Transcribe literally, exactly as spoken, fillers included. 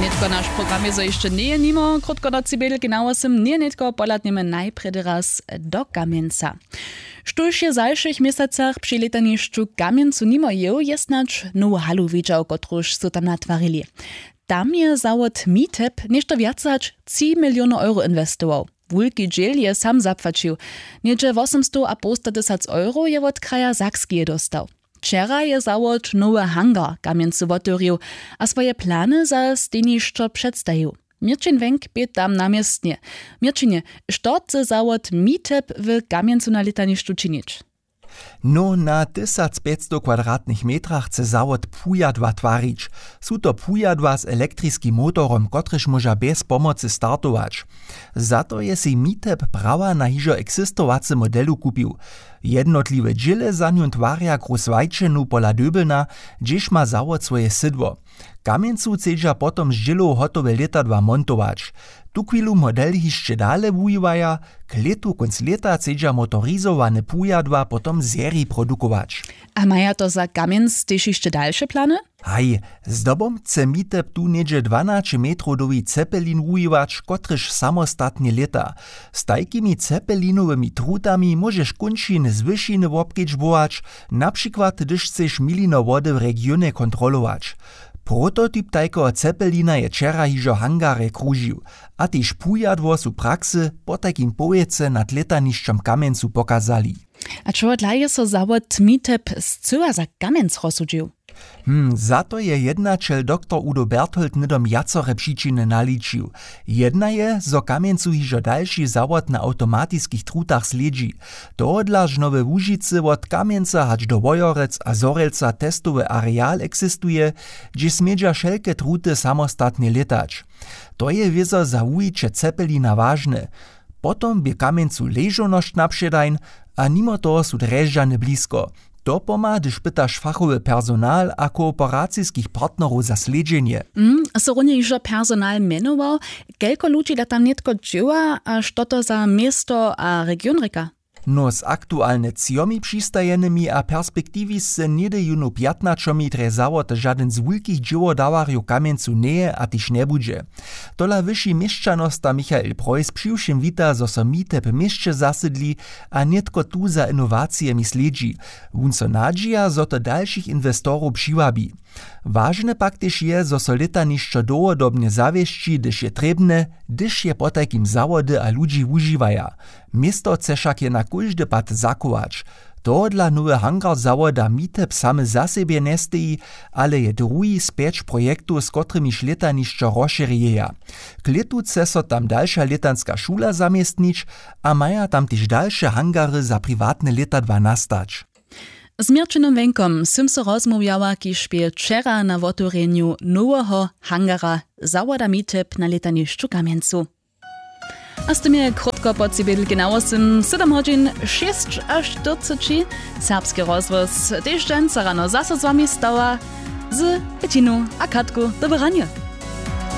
Nětko naš program je zo hišće njeje nimo krótko do cibědelki na wosym njeje nětko pohladnjemy najprjedy raz do kamjenca. Štóž je w zašłych měsacach při lětanišću w kamjencu nimo jěł je snadź nowu halu widźał kotruž su tam natwarili. Tam je zawod mitep něšto wjace hač tři milionow euro inwestował. Wulki dźěl je sam zapłaćił. Něhdźe wosomstowapołstatysac euro je wot kraja sakskeje dóstał. Wčera je zawod nowy hangar w kamjencu wotewrił a swoje plany za stejnišćo předstajił. Měrćin wenk bě tam na městnje. Měrćinje, što chce zawod mitep w kamjencu na lětanišću činić? No, na tysacpjećstow kwadratnych metrach chce zawod pujadła twarić. Su to pujadła z elektriskim motorom kotrež móža bjez pomocy startować. Za to je sej mitep prawa na hižo eksistowacy modelu kupił. Jednotliwe dźěle za njón twarja grus wajćenu pola döbelna, hdźež ma zawod swoje sydło. W kamjencu chcedźa potom z dźělow hotowe lětadła montować. Tuchwilu model hišće dale wuwiwaja. K lětu kónc lěta chcedźa motorizowane pujadła potom w seriji produkować. A maja to za kamjenc tež hišće dalše plany? Haj, zdobom chce mitep tu něhdźe dwanaće metrow dołhi cepelin wuwiwać kotryž samostatnje lěta. Z tajkimi cepelinowymi trutami móžeš kónčin z wyšiny wobkedźbować, na přikład hdyž chceš milino wody w regionje kontrolować. Prototyp tajkeho cepelina je wčera hižo w hangarje kružił. A tež pujadło su praksy potajkim powěcy nad lětanišćom w kamjencu pokazali. A čehodla je so zawod mitep scyła za kamjenc rozsudźił? Hm, za to je jednaćel doktor udo berthold hnydom wjacore přičiny naličił. Jedna je zo w kamjencu hižo dalši zawod na awtomatiskich trutach slědźi. Tohodla žno we łužicy wot kamjenca hač do wojerec a zhorjelca testowy areal eksistuje, hdźež smědźa wšelke truty samostatnje lětać. To je wězo za wuwiće cepelina wažne. Potom bě w kamjencu ležownosć napředań, a nimo toho su drježdźany blisko. To pomha hdyž pytaš fachowy personal a kooperaciskich partnerow za slědźenje. Hm, so runje hižo personal mjenował? Kelko ludźi da tam nětko dźěła a što to za město a region rěka? No, z aktualnje třomi přistajenymi a perspektiwisce něhdy jónu pjatnaćomi drje zawoty žadyn z wulkich dźěłodawarjow w kamjencu njeje a tež njebudźe. Tola wyši měšćanosta michael preuss přiwšěm wita zo so mitep w měsće zasydli a nětko tu za inowacijemi slědźi. Wón so nadźija zo to dalšich inwestorow přiwabi. Wažne pak tež je zo so lětanišćo dołhodobnje zawěsći hdyž je trěbne, hdyž je potajkim zawody a ludźi wužiwaja. Město chce wšak jena kóždy pad zachować. Tohodla nowy hangar zawoda mitep samy za sebje njesteji, ale je druhi z pjeć projektow z kotrymiž lětanišćo rozšěrjeja. K lětu chce so tam dalša lětanska šula zaměstnić a maja tam tež dalše hangary za priwatne lětadła nastać. Z měrćinom wenkom sym so rozmołwjała kiž bě wčera na wotewrjenju noweho hangara zawoda mitep na lětanišću w kamjencu. A z tym je krótko po cibědelki na wosym sydom hodźin šěsć a štyrceći. Serbski rozhłos tež dźensa rano zaso z wami stała z betinu a katku. Dobre ranje.